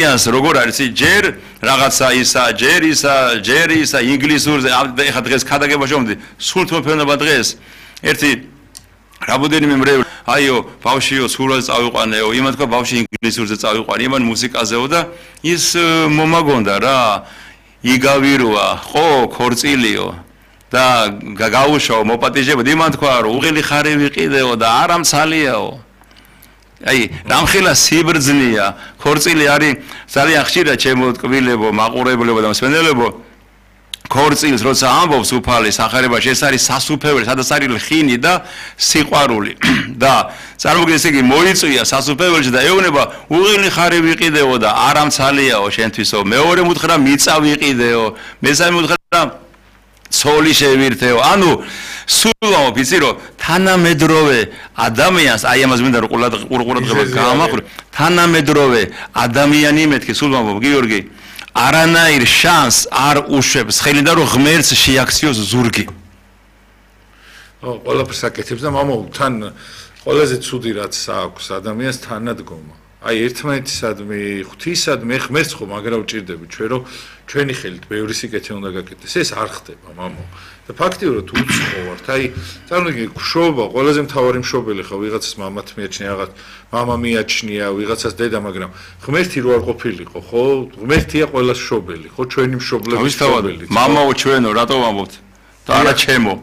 ადამიანს როგორ არის ჯერ რაღაცა ისა ჯერ ისა ინგლისურზე ეხა დღეს ქადაგებაში მომდი სულ თმოფენება დღეს ერთი რამოდენიმე მრევლი აიო ბავშვიო სულაზე წავიყვანეო იმან თქვა ბავშვი ინგლისურზე წავიყვანე იმან მუსიკაზეო და ის მომაგონდა რა იგავიროა ხო ქორწილიო და გაუშვო მოპატიჟებოდ იმან თქვა რომ უღელი ხარი ვიყიდეო და არამცალიაო აი რამხელა სიბრძნეა ქორწილი არის ძალიან ხშირად ჩემო ტკბილებო მაყურებლებო და მსმენელებო ქორწილს როცა ამბობს უფალი სახარებაში ეს არის სასუფეველი სადაც არის ლხინი და სიყვარული და წარმოგიდგენთ იგი მოიწვია სასუფეველში და ეუბნება უღელი ხარი ვიყიდეო და არამცალიაო შენთვისო მეორე მუთხრა მიწა ვიყიდეო მესამე მუთხრა ცოლი შევირთეო ანუ სულ ვიცი რომ თანამედროვე ადამიანს აი ამას მინდა რომ ყურადღება გამახრო თანამედროვე ადამიანი მეთქი სულ მომბობ გიორგი არანაირ შანს არ უშვებს ხელიდან რომ ღმერთს შეაქციოს ზურგი ყველაფერს აკეთებს და მამაო თან ყველაზე ცუდი რაც აქვს ადამიანს თანადგომა აი ერთმანეთისადმი ღვთისადმი ღმერთს ხომ მაგრა უჭირდები ჩვენ რომ ჩვენი ხელით ბევრი სიკეთე უნდა გაკეთდეს ეს არ ხდება მამაო და ფაქტიურად უცხო ვართ აი წარმოგიდგენთ მშობა ყველაზე მთავარი მშობელი ხო ვიღაცას მამათ მიაჩნია რაღაც მამა მიაჩნია ვიღაცას დედა მაგრამ ღმერთი რო არ ყოფილიყო ხო ღმერთია ყველას მშობელი ხო ჩვენი მშობლების მშობელი მამაო ჩვენო რატო ვამბობთ და არა ჩემო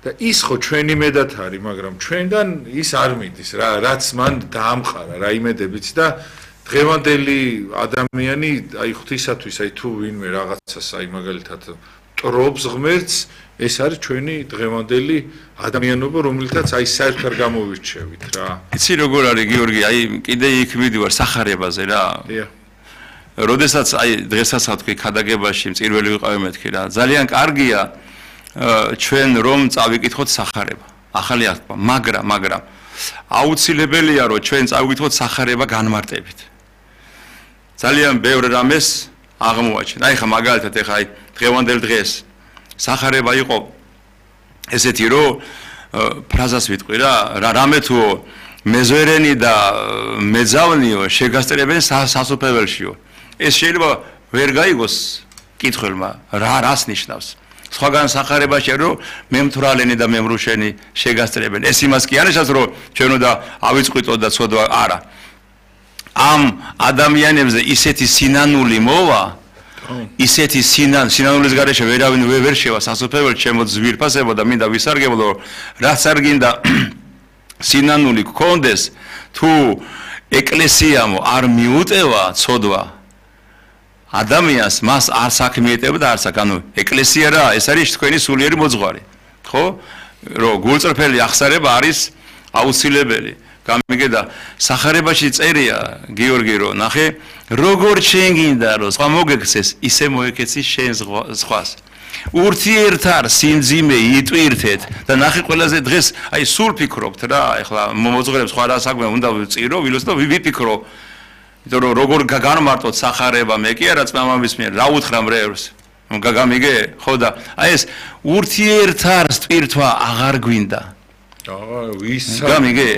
და ის ხო ჩვენი მედად არის მაგრამ ჩვენგან ის არ მიდის რა რაც მან დაამყარა რა იმედებიც და დღევანდელი ადამიანი აი ღვთისათვის აი თუ ვინმე რაღაცას აი მაგალითად ტრობს ღმერთს ეს არის ჩვენი დღევანდელი ადამიანობა რომელთაც აი საერთოდ არ გამოვირჩევით რა იცი როგორ არის გიორგი აი კიდე იქ მიდივარ სახარებაზე რა როდესაც აი დღესაც თქვი ქადაგებაში მწირველი ვიყავი მეთქი რა ძალიან კარგია ჩვენ რომ წავიკითხოთ სახარება ახალი აღთქმა მაგრამ აუცილებელია რომ ჩვენ წავიკითხოთ სახარება განმარტებით ძალიან ბევრ რამეს აღმოაჩენ აი ხა მაგალითად ეხა აი დღევანდელ დღეს სახარება იყო ესეთი რომ ფრაზას ვიტყვი რა რამე თუ მეზვერენი და მეძავნიო შეგასწრებენ სასופველშიო ეს შეიძლება ვერ გაიგოს კითხველმა რას ნიშნავს სხვაგან სახარებაში რომ მემთვრალენი და მემრუშენი შეგასწრებენ ეს იმას კი არნიშნავს რომ ჩვენ უნდა ავიწყვითოთ და ცოდვა არა ამ ადამიანებზე ისეთი სინანული მოვა ისეთი სინანულის გარეშე ვერავინ ვერ შევა სასופველში ჩემო ძვირფასებო და მინდა ვისარგებლო რაც არ გინდა სინანული გქონდეს თუ ეკლესიამ არ მიუტევა ცოდვა ადამიანს მას არ საქმეეტება და არ ანუ ეკლესია რა ეს არის თქვენი სულიერი მოძღვარი ხო რომ გულწრფელი აღსარება არის აუცილებელი გამიგედა სახარებაში წერია გიორგი რომ ნახე როგორ შენ გინდა რომ სხვა მოგექცეს ისე მოეკეცი შენ სხვას ურთიერთარ სიმძიმე იტვირთეთ და ნახე ყველაზე დღეს აი სულ ფიქრობთ რა ეხლა მოძღვრებს სხვა რა საქმე უნდა წირო ვილოს და ვიფიქრო იმიტომ რომ როგორ განმარტოთ სახარება მე კი არა წმამამის მიერ რა უთხრა მრევლს გამიგე ხო და აი ეს ურთიერთარ სტვირთვა აღარ გვინდა გამიგე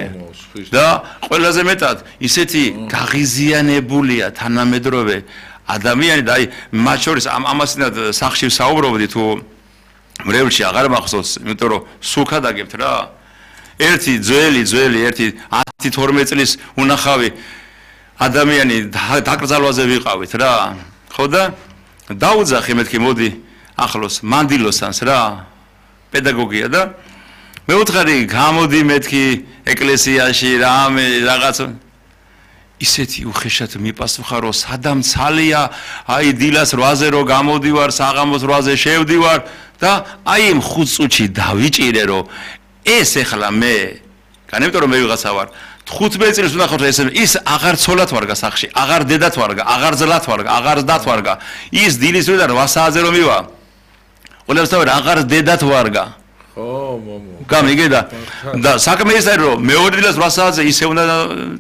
და ყველაზე მეტად ისეთი გაღიზიანებულია თანამედროვე ადამიანი და აი მათ შორის ამასინად სახში საუბრობდი თუ მრევლში აღარ მახსოვს იმიტომ რომ სულქად აგებთ რა ერთი ძველი ერთი 10-12 წლის უნახავი ადამიანი დაკრძალვაზე ვიყავით რა ხო და დაუძახე მეთქი მოდი ახლოს მანდილოსანს რა პედაგოგია და მე ვუთხარი გამოდი მეთქი ეკლესიაში რამე რაღაც ისეთი უხეშად მიპასუხა რომ სადამცალია აი დილას 8-ზე რო გამოდივარ საღამოს 8-ზე შევდივარ და აი იმ 5 წუთში დავიჭირე რომ ეს ეხლა მე განემიტომ რომ მე ვიღაცა ვარ 15 წელს უნდა ხარ ის აღარ ცოლად ვარგა სახში აღარ დედათ ვარგა აღარ ძლად ვარგა აღარ დათ ვარგა ის დილის დროდან 8 საათზე რომ მივა ყველასთავად აღარ დედათ ვარგა ხო მომო გამიგე და საქმე ის არის რომ მეორე დილას 8 საათზე ისე უნდა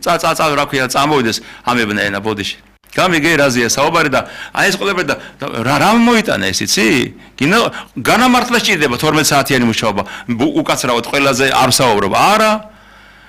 წა რა ქვია წამოვიდეს ამებნა ენა ბოდიში გამიგე რაზეა საუბარი და აი ეს ყველაფერი და რა მოიტანა ეს იცი განამართლა სჭირდება 12 საათიანი მუშაობა უკაცრავად ყველაზე არ საუბრობ არა